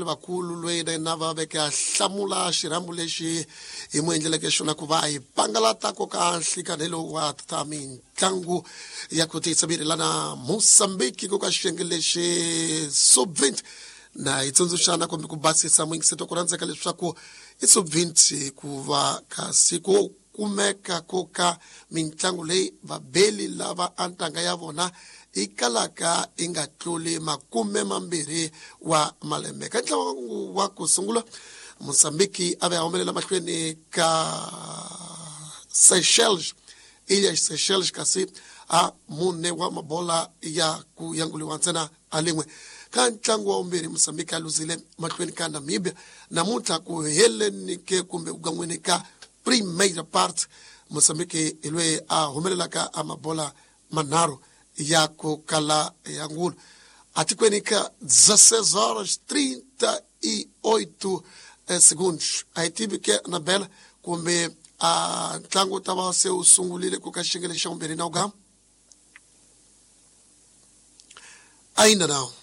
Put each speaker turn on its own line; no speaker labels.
Vakulu loyi na yena va veke a hlamula xirhambo lexi hi mu endleleke xona ku va hi pangalata ko ka nhlikani lowu wa ta mitlangu ya ku tiyisa miri lana Mozambique ku ka xiyenge lexi sub-20. Na hi tsundzuxana kumbe ku basisa muyingiseti wa ku rhandzeka leswaku i sub-20 ku va kasi ku kumeka ko ka mintlangu leyi vabeli lava a ntanga ya vona yi kalaka yi nga tluli 20 wa malembe. Ka ntlangu wa ku sungula, Mozambique a ve a humelela mahlweni ka Seychelles, Ilha Seychelles, kasi a mune wa mabola ya ku yanguliwa ntsena a lin'we. Ka ntlangu wa vumbirhi, Mozambique a luzile mahlweni ka Namibia. Namuntlha ku heleni ke kumbe ku gan'weni ka primeira parte, Mozambique hi loyi a humelelaka a mabola manharhu ya ku kala ya ngulu. Atikweni ka 16 horas 38 segundos. A hi tivi ke Anabela kumbe a ntlangu wu ta va se wu sungulile ku ka xiyenge lexi xa vumbirhi na wu gama. Ainda não.